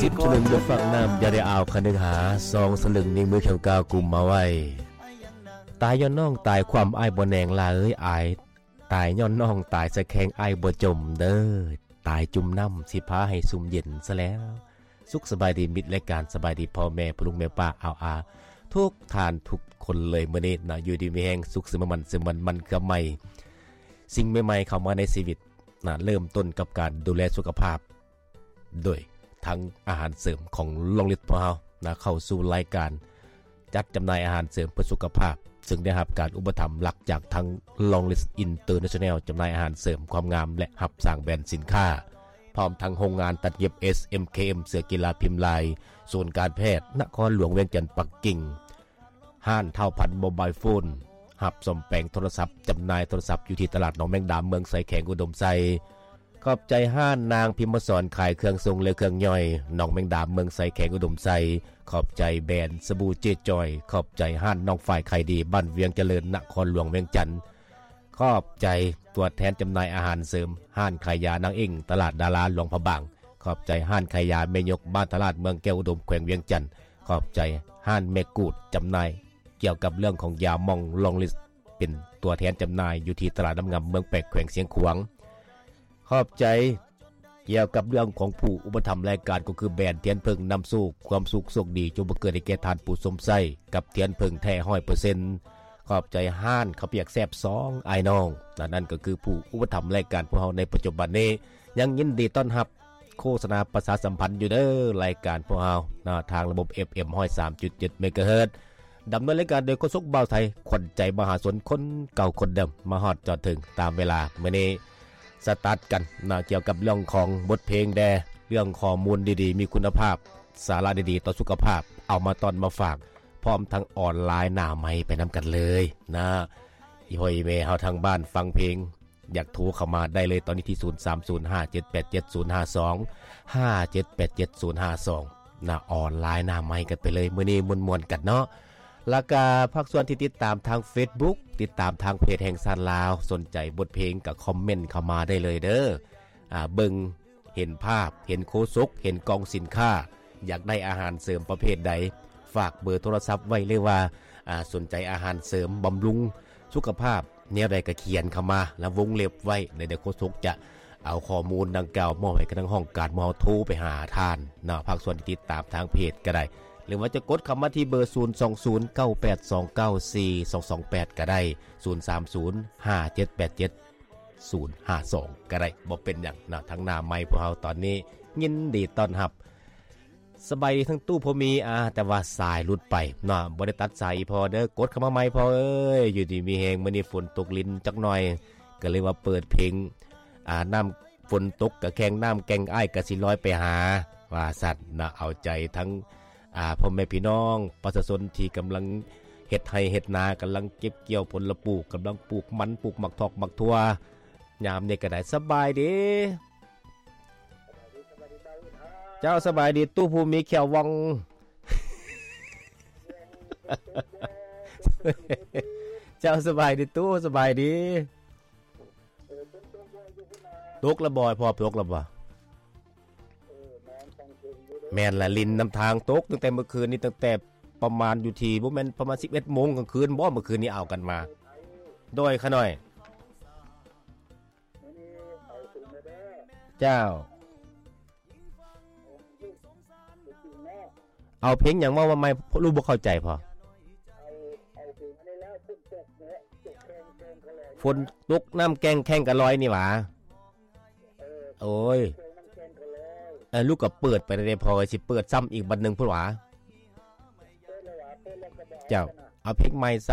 ສິບສະລຶງບໍ່ຟັງນ້ຳ ຢ່າໄດ້ອາວຄັນໜຶ່ງຫາ ສອງສະລຶງນິ້ວມືແຂງກ້າກຸມມາໄວ້. ຕາຍຍ້ອນນ້ອງຕາຍຄວາມອ້າຍບໍ່ແນງ ຫຼ້າເອີຍ ອາຍ ຕາຍຍ້ອນນ້ອງຕາຍສະແຂງ ອ້າຍບໍ່ຈົມເດີ ຕາຍຈຸ່ມນ້ຳ ຊິພາໃຫ້ຊຸ່ມເຢັນຊະແລ້ວ. ສຸກສະບາຍດີມິດລາຍການ ສະບາຍດີພໍ່ແມ່ພໍ່ລຸງແມ່ປ້າອາວອາ ທຸກທ່ານທຸກຄົນເລີຍ. ມື້ນີ້ນະ ຢູ່ດີມີແຮງ ສຸກຊື່ໝັ້ນຊື່ໝັ້ນ ໝັ້ນເຄືອໃໝ່ ສິ່ງໃໝ່ໆເຂົ້າມາໃນຊີວິດນະ ເລີ່ມຕົ້ນກັບການດູແລສຸຂະພາບ ໂດຍທັງອາຫານເສີມຂອງລອງລິດພວກເຮົານະ ເຂົ້າສູ່ລາຍການຈັດຈຳໜ່າຍອາຫານເສີມເພື່ອສຸຂະພາບ ເຊິ່ງໄດ້ຮັບການອຸປະຖຳຫຼັກຈາກທັງລອງລິດອິນເຕີເນຊັນແນວ ຈຳໜ່າຍອາຫານເສີມຄວາມງາມ ແລະ ຮັບສ້າງແບຣນສິນຄ້າ ພ້ອມທັງໂຮງງານຕັດເຢັບ ເອສເອັມເຄເອັມ ເສືອກິລາພິມລາຍ ສູນການແພດນະຄອນຫຼວງວຽງຈັນ ປັກກິ່ງ ຮ້ານທ້າວພັນໂມບາຍໂຟນ ຮັບສ້ອມແປງໂທລະສັບ ຈຳໜ່າຍໂທລະສັບຢູ່ທີ່ຕະຫຼາດໜອງແມງດາ ເມືອງໄຊ ແຂວງອຸດົມໄຊ. ຂອບໃຈຮ້ານນາງພິມມະສອນ ຂາຍເຄື່ອງສົ່ງ ແລະ ເຄື່ອງຍ່ອຍ ໜອງແມງດາ ເມືອງໄຊ ແຂວງອຸດົມໄຊ. ຂອບໃຈແບຣນສະບູເຈຈອຍ. ຂອບໃຈຮ້ານນ້ອງຝ້າຍຂາຍດີ ບ້ານວຽງຈະເລີນ ນະຄອນຫຼວງວຽງຈັນ. ຂອບໃຈຕົວແທນຈຳໜ່າຍອາຫານເສີມ ຮ້ານຂາຍຢານາງເອັ້ງ ຕະຫຼາດດາລາ ຫຼວງພະບາງ. ຂອບໃຈຮ້ານຂາຍຢາແມ່ຍົກ ບ້ານທະລາດ ເມືອງແກ້ວອຸດົມ ແຂວງວຽງຈັນ. ຂອບໃຈຮ້ານແມ່ກູດ ຈຳໜ່າຍກ່ຽວກັບເລື່ອງຂອງຢາໝອງລອງລິດ ເປັນຕົວແທນຈຳໜ່າຍຢູ່ທີ່ຕະຫຼາດນ້ຳງາມ ເມືອງແປກ ແຂວງຊຽງຂວາງ. ຂອບໃຈກ່ຽວກັບເລື່ອງຂອງຜູ້ອຸປະຖຳລາຍການ ກໍຄືແບຣນທຽນເຜິ້ງນຳໂຊກ ຄວາມສຸກໂຊກດີຈົ່ງບັງເກີດໃຫ້ແກ່ທ່ານຜູ້ຊົມໃຊ້ກັບທຽນເຜິ້ງແທ້ຮ້ອຍເປີເຊັນ. ຂອບໃຈຮ້ານເຂົ້າປຽກແຊບສອງອ້າຍນ້ອງ ນັ້ນກໍຄືຜູ້ອຸປະຖຳລາຍການພວກເຮົາໃນປັດຈຸບັນນີ້. ຍັງຍິນດີຕ້ອນຮັບໂຄສະນາປະຊາສຳພັນຢູ່ເດີ ລາຍການພວກເຮົານະ ທາງລະບົບເອັຟເອັມຮ້ອຍສາມຈຸດເຈັດເມກາເຮີດ. ດຳເນີນລາຍການໂດຍໂຄສົກບ່າວໄທ ຂວັນໃຈມະຫາຊົນຄົນເກົ່າຄົນເດີມ ມາຮອດຈອດເຖິງຕາມເວລາ. ມື້ນີ້ສະຕາດກັນນະ ກ່ຽວກັບເລື່ອງຂອງບົດເພງແດ່ ເລື່ອງຂໍ້ມູນດີໆ ມີຄຸນນະພາບ ສາລະດີໆ ຕໍ່ສຸຂະພາບ ເອົາມາຕ້ອນມາຝາກ ພ້ອມທັງອອນລາຍໜ້າໃໝ່ໄປນຳກັນເລີຍນະ. ອີ່ພໍ່ອີ່ແມ່ເຮົາທາງບ້ານຟັງເພງ ຢາກໂທເຂົ້າມາໄດ້ເລີຍ ຕອນນີ້ທີ່ ສູນສາມສູນ ຫ້າເຈັດແປດເຈັດ ສູນຫ້າສອງ ຫ້າເຈັດແປດເຈັດ ສູນຫ້າສອງ ນະ ອອນລາຍໜ້າໃໝ່ກັນໄປເລີຍ. ມື້ນີ້ມ່ວນໆກັນເນາະ ແລ້ວກະພາກສ່ວນທີ່ຕິດຕາມທາງເຟສບຸກ ຕິດຕາມທາງເພຈແຫ່ງຊານລາວ ສົນໃຈບົດເພງກະຄອມເມັນເຂົ້າມາໄດ້ເລີຍເດີ. ອາ ເບິ່ງ ເຫັນພາບ ເຫັນໂຄສົກ ເຫັນກ່ອງສິນຄ້າ ຢາກໄດ້ອາຫານເສີມປະເພດໃດ ຝາກເບີໂທລະສັບໄວ້ ຫຼືວ່າ ອາ ສົນໃຈອາຫານເສີມບຳລຸງສຸຂະພາບແນວໃດ ກະຂຽນເຂົ້າມາ ແລ້ວວົງເລັບໄວ້ ແລ້ວດຽວໂຄສົກຈະເອົາຂໍ້ມູນດັ່ງກ່າວມອບໃຫ້ກັບທາງຫ້ອງການ ເຮົາໂທໄປຫາທ່ານເນາະ. ພາກສ່ວນທີ່ຕິດຕາມທາງເພຈກະໄດ້ ຫຼືວ່າຈະກົດເຂົ້າມາທີ່ເບີ ສູນສອງສູນ ເກົ້າແປດສອງເກົ້າສີ່ສອງສອງແປດ ກະໄດ້ ສູນສາມສູນ ຫ້າເຈັດແປດເຈັດ ສູນຫ້າສອງ ກະໄດ້ ບໍ່ເປັນຫຍັງເນາະ. ທາງໜ້າໄມພວກເຮົາຕອນນີ້ ຍິນດີຕ້ອນຮັບ. ສະບາຍດີທັງຕູ້ພໍ່ມີ ອາ ແຕ່ວ່າສາຍຫຼຸດໄປເນາະ ບໍ່ໄດ້ຕັດສາຍອີ່ພໍ່ເດີ. ກົດເຂົ້າມາໃໝ່ພໍ່ເອີຍ ຢູ່ດີມີແຮງ. ມື້ນີ້ຝົນຕົກລິນຈັກໜ່ອຍ ກະເລີຍວ່າເປີດເພງ ອາ ນ້ຳ ຝົນຕົກກະແຂ່ງນ້ຳແກ່ງ ອ້າຍກະຊິລອຍໄປຫາ ວ່າຊັ້ນນະ. ເອົາໃຈທັງ ອາ ພໍ່ແມ່ພີ່ນ້ອງປະຊາຊົນທີ່ກຳລັງເຮັດໄຮ່ເຮັດນາ ກຳລັງເກັບກ່ຽວຜົນລະປູກ ກຳລັງປູກມັນ ປູກໝາກຖອກໝາກຖົ່ວ ຍາມນີ້ກະໄດ້. ສະບາຍດີ ເຈົ້າ ສະບາຍດີຕູ້ຜູ້ມີແຂ້ວວ່ອງ. ເຈົ້າ ສະບາຍດີຕູ້ ສະບາຍດີ. ຕົກລະບໍ່ ພໍ່ຕົກລະບໍ່? ແມ່ນລະ ລິນນຳທາງ ຕົກຕັ້ງແຕ່ເມື່ອຄືນນີ້ ຕັ້ງແຕ່ປະມານຢູ່ທີ່ ບໍ່ແມ່ນ ປະມານສິບເອັດໂມງກາງຄືນບໍ່ ເມື່ອຄືນນີ້ເອົາກັນມາ. ໂດຍ ຂະນ້ອຍ ເຈົ້າ ເອົາເພງຫຍັງເວົ້າມາໃໝ່ ລູກບໍ່ເຂົ້າໃຈພໍ່. ຝົນຕົກນ້ຳແກ່ງແຂ່ງກະລອຍນີ້ຫວາ? ໂອ້ຍ ເອີ ລູກກະເປີດໄປແດ່ພໍ່ ຊິເປີດຊ້ຳອີກບັດໜຶ່ງພຸ້ນຫວາ. ເຈົ້າ ເອົາເພງໃໝ່ຊະ.